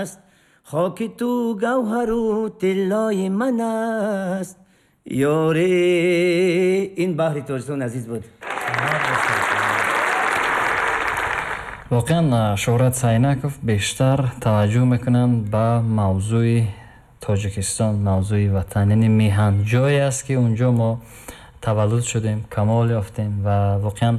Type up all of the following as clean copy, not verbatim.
Аст, хоки ту гавҳару тиллои ман аст, ёре. Ин баҳри Тоҷикистон азиз буд. Воқеан, Шӯҳрат Сайнаков бештар таваҷҷӯҳ мекунанд ба мавзӯи Тоҷикистон, мавзӯи ватан, яъне меҳан, ҷое аст, ки унҷо мо таваллуд шудем, камол ёфтем ва воқеан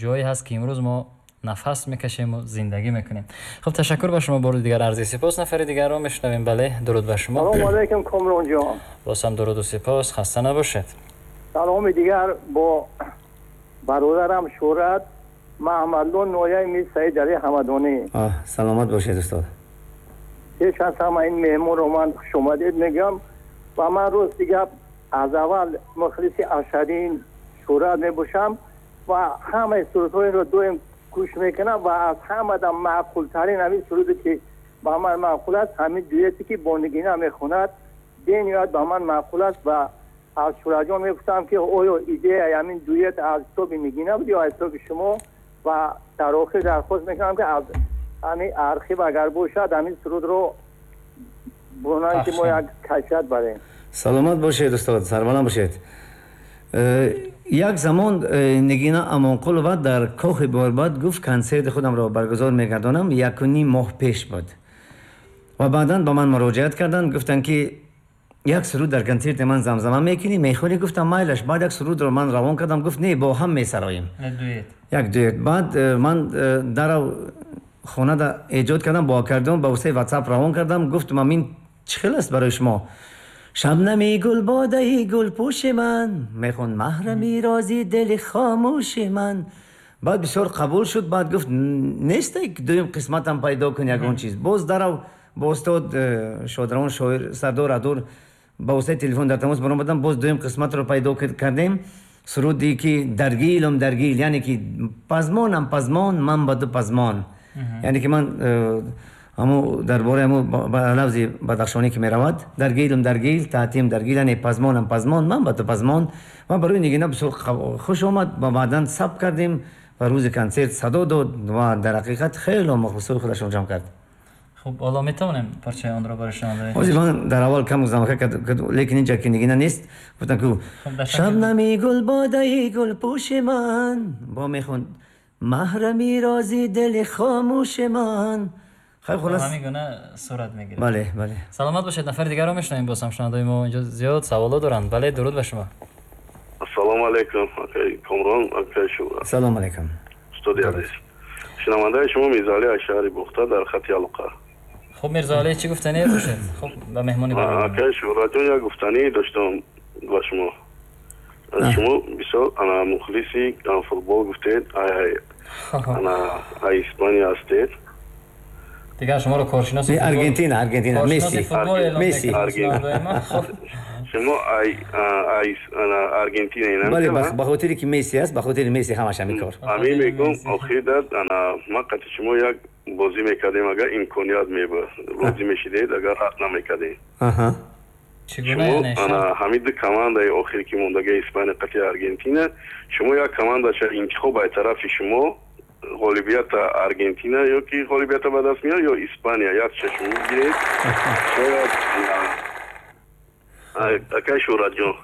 ҷое ҳаст, ки имрӯз мо нафас мекашему зиндагӣ мекунем. Хуб, ташаккур ба шумо, бори дигар арзи сипос. Нафари дигарро мешунавем. Бале, дуруд ба шумо. Салому алайкум, Комронҷон. Боз ҳам дуруду сипос, хаста набошед. Саломи дигар бо бародарам Шӯҳрат, Маҳмадло, ноҳияи Мир Саид Али Ҳамадонӣ. Саломат бошед, устод. Пеш аз ҳама ин меҳмонро ман хушомадед мегӯям ва ман, рости гап, аз аввал мухлиси ашаддии Шӯҳрат мебошам ва ҳамаи сурудҳоеро доим гӯш мекунам ва аз ҳамада маъқултарин ҳамин суруде, ки ба ман маъқул аст, ҳамин дуэте, ки бо Нигина мехонад, бениҳоят ба ман маъқул аст. Ва аз Шӯҳратҷон мепурсам, ки оё идеяи ҳамин дуэт аз ҳисоби Нигина буд ё аз ҳисоби шумо? Ва дар охир дархост мекунам, ки аз ҳамин архив агар бошад, ҳамин сурудро бунанд, ки мо як кайфият барем. Саломат бошед, устод, сарбаланд бошед. Як замон Нигина Амонқулова дар Кохи Борбад гуфт, консерти худамро баргузор мегардонам, 1.5 моҳ пеш буд, ва баъдан ба ман муроҷиат карданд, гуфтанд, ки як суруд дар консерти ман замзама мекунӣ, мехонӣ? Гуфтам, майлаш. Баъд як сурудро ман равон кардам, гуфт, не, бо ҳам месароем як дуэт. Баъд ман дарав хонада эҷод кардам бо аккордеон, ба воситаи Ватсап равон кардам. Гуфтам, ин чӣ хел аст барои шумо? Шабнами гулбодаи гулпӯши ман, мехон, маҳрами рози дили хомӯши ман. Баъд бисёр қабул шуд. Баъд гуфт, нестай, дуюм қисматам пайдо кун, ягон чиз. Боз дарав бо устод шодравон шоир Сардор Адур ба воситаи телефон дар тамос баромадам, боз дуюм қисматро пайдо кардем. Суруде, ки даргилум даргил, яъне ки пазмонам пазмон, ман ба ду пазмон, яъне ки ман ҳаму дар бораи ҳаму ба лафзи бадахшонӣ, ки меравад, даргилум даргил, таътим даргил, яъне пазмонам пазмон, ман ба ту пазмон. Ва барои Нигина бисёр хуш омад ва баъдан сабт кардем ва рӯзи консерт садо дод ва дар ҳақиқат хело мухлисои худашро ҷамъ кард. Хуб, ҳоло метавонем парчаи онро барои шунавандаи ҳозир ман дар аввал кам замака кард, лекин инҷа ки Нигина нест, гуфтам, ки шабнами гулбодаи гулпӯши ман, бо мехонд, маҳрами рози дили хомӯши ман. Хай, хулас. Ҳамин гуна сурат мегирад. Бале. Саломат бошед. Нафари дигарро мешунавем. Боз ҳам шунавандаои мо инҷо зиёд саволо доранд. Бале, дуруд ба шумо. Ассалому алайкум, акай Комрон, акай Шӯҳрат. Салому алайкум. Устоди азиз, шунавандаи шумо Мирзоалӣ аз шаҳри Бухта дар хати алоқа. Хуб, Мирзоалӣ, чӣ гуфтание бошед? Хуб, ба меҳмони барнома. Акай Шӯҳратҷон, як гуфтанӣ доштам ба шумо. Шумо бисёр ана мухлиси футбол гуфтед, ана Испания ҳастед. Дигар шуморо коршиноси Аргентина, Аргентина, Месси. Месси. Шумо Аргентина? Бале, ба хотире ки Месси аст, ба хотири Месси ҳамаш ҳамин кор. Ҳамин мегӯм, охир ана ман қати шумо як бозӣ мекардем, агар имконият мебуд, розӣ мешидед, агар рад намекардем. Шумо ана ҳамин ду командаи охир, ки мондагаи, Испания қати Аргентина, шумо як командаша интихоб, ай тарафи шумо ғолибията Аргентина ё ки ғолибията ба даст меояд ё Испания, якша шумо бигиред, шояд, акай Шӯҳратҷон,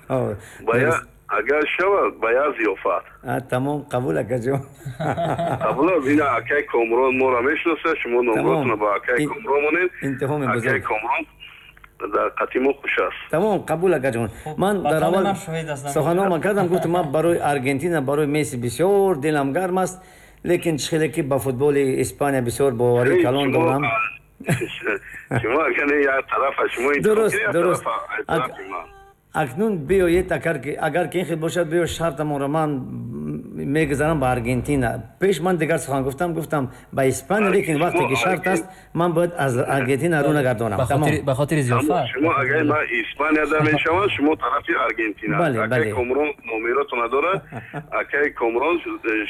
агар шавад, ба як зиёфат. Тамом, қабул, акаҷон. Қабул аст. Ина акай Комрон моро мешиносад, шумо номротона ба акай Комрон монед, акай Комрон дар қати мо хуш аст. Тамом, қабул, акаҷон. Ман дар аввал суханома кардам, гуфтам, ман барои Аргентина, барои Месси бисёр дилам гарм аст, лекин чӣ хеле ки ба футболи Испания бисёр боварии калон дорам. Шумо агар як тарафа шумо Дуруст. Акнун биёед, агар ки ин хел бошад, биё, шартамонро ман мегузарам ба Аргентина. Пеш ман дигар сухан гуфтам, гуфтам ба Испания, лекин вақте ки шарт аст, ман бояд аз Аргентина рӯ нагардонам. Ба хотири зиёфат. Шумо агар ман Испанияда мешавам, шумо тарафи Аргентина. Акай Комрон номеротона дорад, акай Комрон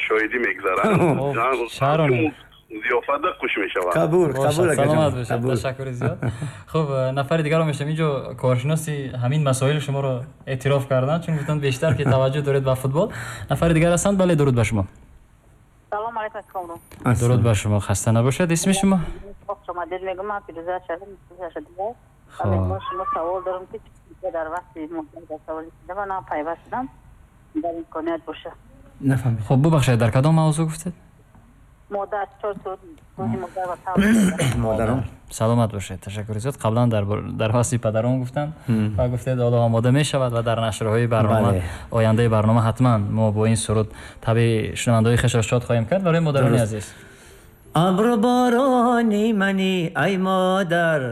шоҳидӣ мегузарад, зиёфатда хуш мешавад. Қабул, қабул. Саломат бошед, ташаккури зиёд. Хуб, нафари дигарро мешавем. Инҷо коршиноси ҳамин масоил шуморо эътироф карданд, чун гуфтанд, бештар ки таваҷҷӯҳ доред ба футбол. Нафари дигар ҳастанд. Бале, дуруд ба шумо. Салом алайкум, Комрон. Дуруд ба шумо, хаста набошед. Исми шумо? Хуш омадед мегӯям. Ман Фирӯза шудам. Ман шумо савол дорам ки дар вақти муҳим савол шуда ман пайваст шудам, дар имконият боша. Нафаҳмидам. Хуб, бубахшед, дар кадом мавзӯъ гуфтед? Модар, чор рӯзи модар ва модарон. Саломат бошед, ташаккури зиёд. Қаблан дар васфи падарон гуфтанд ва гуфтед ҳоло омода мешавад ва дар нашрҳои барнома, ояндаи барнома ҳатман мо бо ин суруд табъи шунавандаҳои хешро шод хоҳем кард. Барои модарони азиз. Абру борони мани ай модар,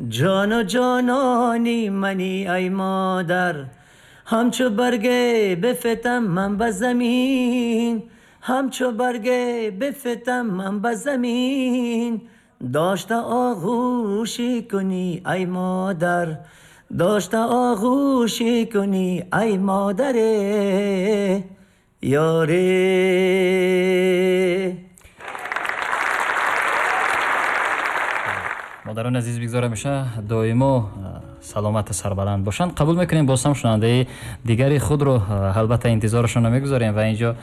ҷону ҷонони мани ай модар, ҳамчу барге бифтам ман ба замин, ҳамчу барге бифтам ман ба замин, дошта оғӯшӣ кунӣ ай модар, дошта оғӯшӣ кунӣ ай модаре ёре. Модарони азиз, бигзор ҳамеша доимо саломату сарбаланд бошанд. Қабул мекунем боз ҳам шунавандаи дигари худро, албатта интизорашон намегузорем ва инҷо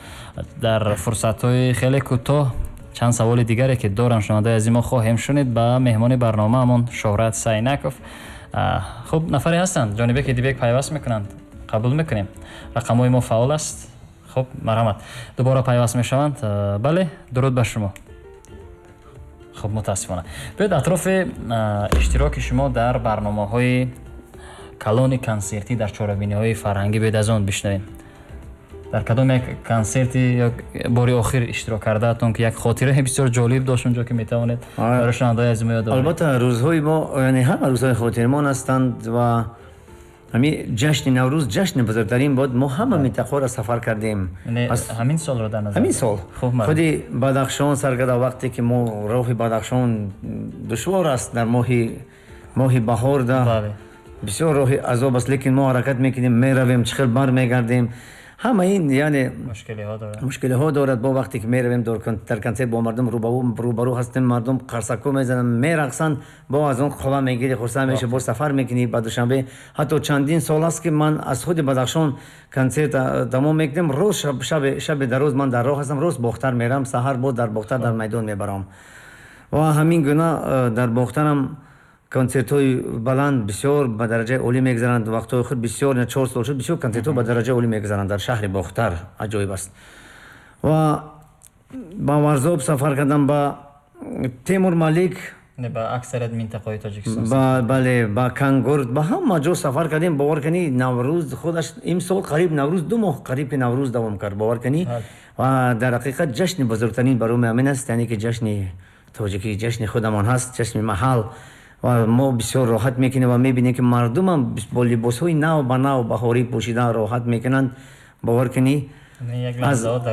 дар фурсатҳои хеле кӯтоҳ чанд саволи дигаре ки доранд шунавандаи азизи мо хоҳем шунид ба меҳмони барномаамон Шӯҳрат Сайнаков. Хуб, нафаре ҳастанд Ҷонибек Идибек пайваст мекунанд, қабул мекунем. Рақамҳои мо фаъол аст. Хуб, марҳамат, дубора пайваст мешаванд. Бале, дуруд ба шумо. Хуб, мутаассифона. Биёед атрофи иштироки шумо дар барномаҳои калони консертӣ, дар чорабиниҳои фарҳангӣ биёед аз он бишнавем. Дар кадом як консерти ё бори охир иштирок кардаатон ки як хотираи бисёр ҷолиб дошт онҷо ки метавонед барои шунавандаҳои азизи мо ёд оваред? Албатта, рӯзҳои мо, яъне ҳама рӯзҳои хотирмон ҳастанд ва ҳамин ҷашни Наврӯз ҷашни бузургтарин буд. Мо ҳама минтақаро сафар кардем. Ҳамин солро дар назар ҳамин сол худи Бадахшон сар карда, вақте ки мо роҳи Бадахшон душвор аст дар моҳи баҳор, да бисёр роҳи азоб аст, лекин мо ҳаракат мекунем, меравем, чӣ хел бармегардем. Ҳама ин яъне мушкилиҳо дорад. Бо вақте ки меравем дар консерт бо мардум рӯбарӯ ҳастем, мардум қарсакӯ мезананд, мерақсанд, бо аз он қувва мегирӣ, хурсанд мешавӣ, боз сафар мекунӣ ба Душанбе. Ҳатто чандин сол аст ки ман аз худи Бадахшон консерт тамом мекунем, рӯз шаби дароз ман дар роҳ ҳастам, рӯз Бохтар мерам, саҳар боз дар Бохтар дар майдон мебарам. Ва ҳамин гуна дар Бохтарам консертҳои баланд бисёр ба дараҷаи олӣ мегузаранд. Вақтҳои худ бисёр, 4 сол шуд, бисёр консертҳо ба дараҷаи олӣ мегузаранд дар шаҳри Бохтар. Аҷоиб аст. Ва ба Варзоб сафар кардам, ба Темур Малик, ба аксарият минтақаҳои Тоҷикистон, бале, ба Кангурд, ба ҳама ҷо сафар кардем. Бовар кунӣ, Наврӯз худаш имсол қариб Наврӯз 2 моҳ қариб ки Наврӯз давом кард, бовар кунӣ. Ва дар ҳақиқат ҷашни бузургтарин барои мо ҳамин аст, яъне ки ҷашни тоҷикӣ, ҷашни худамон ҳаст, ҷашни маҳал. Ва мо бисёр роҳат мекунем ва мебинем ки мардумам бо либосҳои нав ба нав баҳорӣ пӯшида роҳат мекунанд. Бовар кунӣ,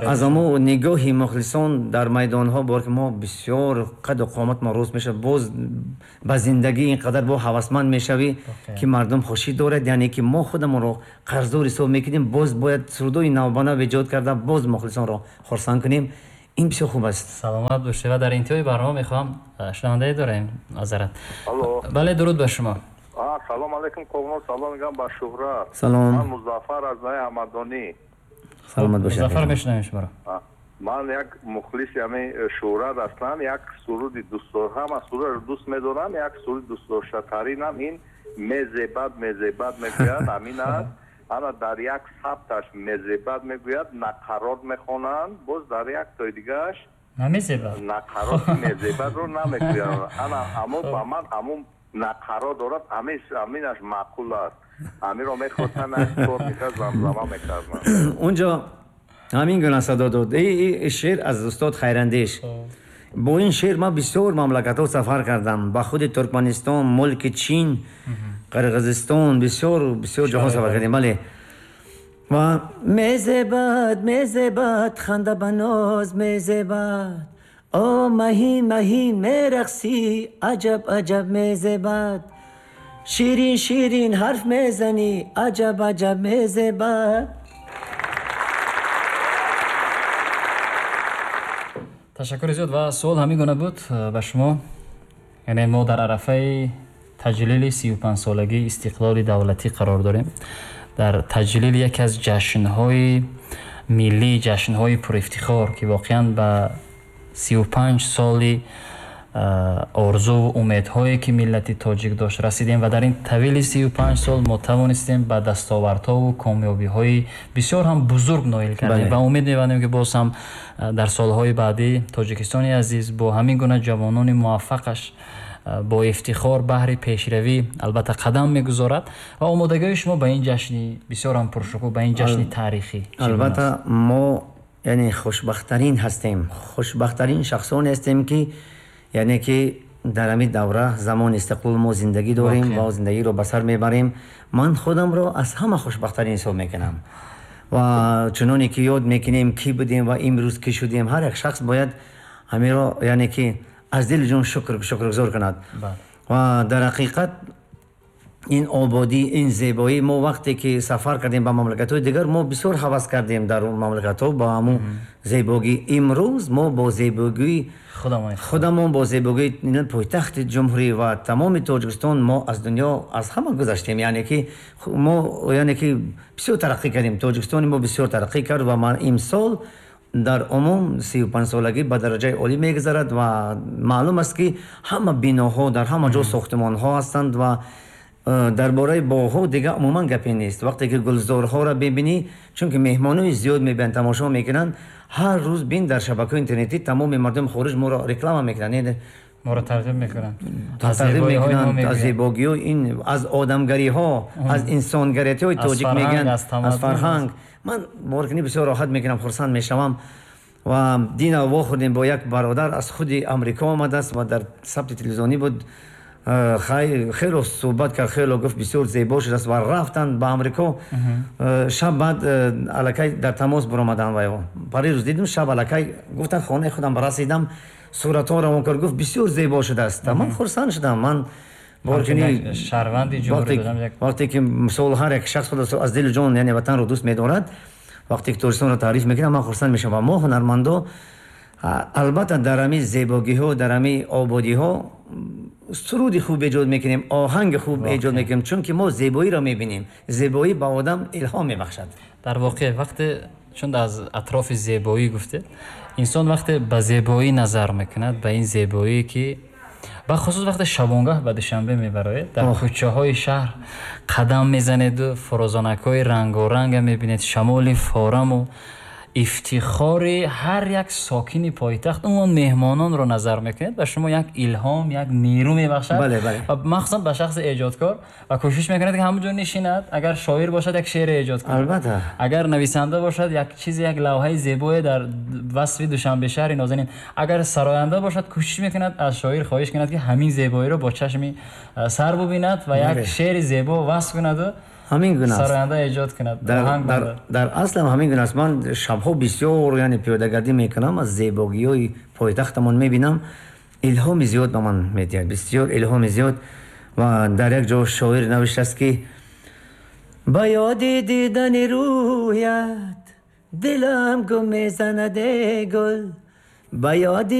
аз амо нигоҳи мухлисон дар майдонҳо, бовар ки мо бисёр қаду қомат мо рост мешавад, боз ба зиндагӣ ин қадар бо ҳавасманд мешавӣ ки мардум хушӣ дорад. Яъне ки мо худамонро қарздор ҳисоб мекунем, боз бояд сурудҳои навбанав эҷод карда боз мухлисонро хурсанд кунем. Ин бисёр хуб аст. Саломат бошед. Ва дар интиҳои барнома мехоҳам шунавандае дорем азарат. Бале, дуруд ба шумо. Салом алейкум Ковнор, салом мегӯям ба Шӯҳрат. Салом. Ман Музаффар аз ноҳияи Ҳамадонӣ. Саломат бошед. Музаффар, мешунавем шуморо. Ман як мухлиси ҳамин Шӯҳрат ҳастам. Як суруди дӯстдор, ҳама сурудро дӯст медорам, як суруди дӯстдоштатаринам ин мезебад, мезебад мегӯяд, ҳамин аст. Ана дар як сабташ мезебад мегӯяд, нақарот мехонанд, боз дар як тои дигааш намезебад, нақарот мезебадро намегӯянд. Ана аммо ба ман ҳамун нақарот дорад, ҳаминаш маъқул аст. Ҳаминро мехостам, як кор мекард, замзама мекардам. Унҷо ҳамин гуна садо дод. Ин шеър аз устод Хайрандеш. Бо ин шеър ман бисёр мамлакатҳо сафар кардам, ба худи Туркманистон, мулки Чин, Қирғизистон, бисёр бисёр ҷоҳо сафар кардем. Бале. Ва мезебад, мезебад, ханда ба ноз мезебад, о маҳин маҳин мерақсӣ, аҷаб аҷаб мезебад, ширин ширин ҳарф мезанӣ, аҷаб аҷаб мезебад. Ташаккури зиёд. Ва суол ҳамин гуна буд ба шумо, яъне мо дар арафаи таҷлили 35-солагии истиқлоли давлатӣ қарор дорем, дар таҷлили яке аз ҷашнҳои миллӣ, ҷашнҳои пурифтихор ки воқеан ба 35 соли Орзуву умедҳое ки миллати тоҷик дошт расидем ва дар ин тавили 35 сол мо тавонистем ба дастовардҳову комёбиҳои бисёр ҳам бузург ноил кардем ва умед мебандем, ки боз ҳам дар солҳои баъдӣ Тоҷикистони азиз бо ҳамин гуна ҷавонони муваффақаш бо ифтихор баҳри пешравӣ албатта қадам мегузорад. Ва омодагиҳои шумо ба ин ҷашни бисёр ҳам пуршукӯҳ, ба ин ҷашни таърихӣ? Албатта, мо яъне хушбахттарин ҳастем, хушбахттарин шахсоне ҳастем, ки яъне ки дар ҳамин давра, замони истиқлол, мо зиндагӣ дорем ва зиндагиро ба сар мебарем. Ман худамро аз ҳама хушбахттарин ҳисоб мекунам. Ва чуноне ки ёд мекунем, кӣ будем ва имрӯз кӣ шудем, ҳар як шахс бояд ҳаминро яъне ки аз дили ҷон шукргузор кунад. Ва дар ҳақиқат ин ободӣ, ин зебоӣ, мо вақте ки сафар кардем ба мамлакатҳои дигар, мо бисёр ҳавас кардем дар он мамлакатҳо ба ҳамун зебогӣ. Имрӯз мо бо зебогии худамон, бо зебогии пойтахти ҷумҳурӣ ва тамоми Тоҷикистон, мо аз дунё аз ҳама гузаштем. Яъне ки мо яъне ки бисёр тараққӣ кардем, Тоҷикистони мо бисёр тараққӣ кард. Ва ман имсол дар умум 35-солагӣ ба дараҷаи олӣ мегузарад ва маълум аст, ки ҳама биноҳо, дар ҳама ҷо сохтмонҳо ҳастанд ва дар бораи боғҳо дига умуман гапе нест. Вақте ки гулзорҳоро бибинӣ, чунки меҳмонои зиёд мебиёнд, тамошо мекунанд, ҳар рӯз бин, дар шабакаҳои интернетӣ тамоми мардуми хориҷ моро реклама мекунанд. Моро тарғиб мекунанд. Тарғиб мекунанд аз зебогиҳо, ин аз одамгариҳо, аз инсонгариятиҳои тоҷик мегӯянд, аз фарҳанг. Ман боркунӣ бисёр роҳат мекунам, хурсанд мешавам. Ва дина вохӯрдем бо як бародар, аз худи Амрико омадааст ва дар сабти телевизионӣ буд. Хело суҳбат кард, хело гуфт, бисёр зебо шудааст. Ва рафтанд ба Амрико. Шаб баъд аллакай дар тамос баромаданд ва парирӯз дидем, шаб аллакай гуфтанд, хонаи худам расидам, суратҳо равон кард, гуфт, бисёр зебо шудааст. Ман хурсанд шудам. Ман шаҳрванди ҷумҳурӣ. Вақте ки мисол ҳар як шахс худ аз дилу ҷон яъне ватанро дӯст медорад, вақте ки Тоҷикистонро таъриф мекунад, ман хурсанд мешавам. Ва мо ҳунармандо албатта дар ҳамин зебогиҳо, дар ҳамин ободиҳо суруди хуб эҷод мекунем, оҳанги хуб эҷод мекунем, чунки мо зебоиро мебинем. Зебоӣ ба одам илҳом мебахшад. Дар воқеъ, вақте чун аз атрофи зебоӣ гуфтед, инсон вақте ба зебоӣ назар мекунад, ба ин зебоие ки бахусус вақте шабонгаҳ ба Душанбе мебароед, дар кӯчаҳои шаҳр қадам мезанеду фурӯзонакҳои рангоранга мебинед, шамоли фораму ифтихори ҳар як сокини пойтахт, умуман меҳмононро назар мекунед, ба шумо як илҳом, як нерӯ мебахшад ва махсусан ба шахси эҷодкор, ва кӯшиш мекунад, ки ҳамон ҷо нишинад, агар шоир бошад, як шеъре эҷод кунад, агар нависанда бошад, як чизе, як лавҳаи зебое дар васфи Душанбе, шаҳри нозанин, агар сароянда бошад, кӯшиш мекунад, аз шоир хоҳиш кунад, ки ҳамин зебоиро бо чашми сар бубинад ва як шеъри зебо васф кунаду ҳамин гуна аст. Сароянда эҷод кунад. Дар аслам ҳамин гуна аст. Ман шабҳо бисёр яъне пиёдагардӣ мекунам, аз зебогиҳои пойтахтамон мебинам, илҳоми зиёд ба ман медиҳад, бисёр илҳоми зиёд. Ва дар як ҷо шоир навиштааст, ки ба ёди дидани рӯят дилам гум мезанад, э гул, ба ёди